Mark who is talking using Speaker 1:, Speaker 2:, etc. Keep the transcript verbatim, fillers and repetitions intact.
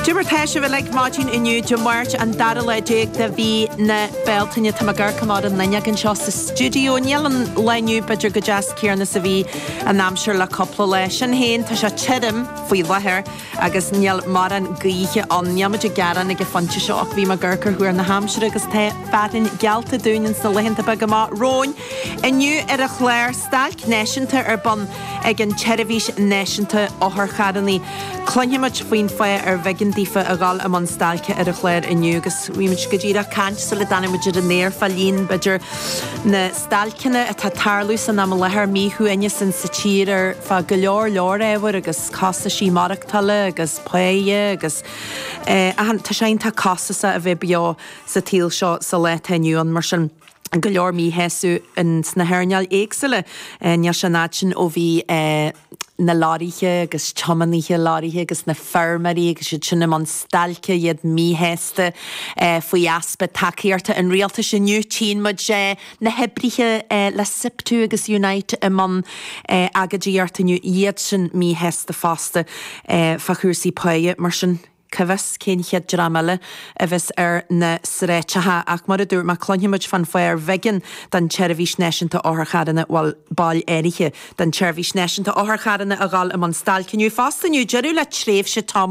Speaker 1: Cad é mar tá sibh uilig maidin inniu Dé Máirt an dara lá déag de mhí na Bealtaine tá mé ag amharc an fhuinneog anseo sa stiúideo níl an lá inniu b'fhéidir chomh deas céanna is a bhí an aimsir le cúpla lá sin féin tá sé tirim faoi láthair agus níl mórán gaoithe ann níl muid ag gearán ag an phointe seo ach bhí mé ag amharc ar thuar na haimsire agus tá fearthainn geallta dúinn sna laethanta beaga amach romhainn. Inniu ar an chlár stailc náisiúnta ar bun ag an tSeirbhís Náisiúnta Otharcharranna. Cluinfimid faoin fáth ar bh'éigean daofa a dhul i mbun stailce ar an chlár inniu agus bhí muid go díreach ag caint sula dtáinig muid ar an aer fá líon b'fhéidir na stailceanna atá ag tarlú san am i láthair míshuaimhneas sa tír ar fá go leor leor ábhar agus costaisí maireachtála agus páighe agus eh, tá sé iontach costasach a bheith beo sa tsaol seo sa lá atá inniu ann mar sin go leor míshásamh in sna hearnáil éagsúla níl sé an sin ó bhí eh, na leoraithe agus tiománaithe leoraithe agus na feirmeoirí agus siad sin i mbun stailce iad míshásta eh, faoi easpa tacaíochta an rialtais inniu tchíonn muid eh, na hoibrithe eh, le SIPTU agus Unite i mbun eh, agóidíocht inniu iad sin míshásta fosta eh, fá chúrsaí páighe mar sin. Cá bhfios cén chéad dream eile a bheas ar na sráideacha ach mar a dúirt mé cluinfimid fán fáth ar bh'éigean don tSeirbhís Náisiúnta Otharcharranna bhfuil baill áirithe den tSeirbhís Náisiúnta Otharcharranna a dhul i mbun stailce inniu fosta inniu deireadh le tréimhse Tom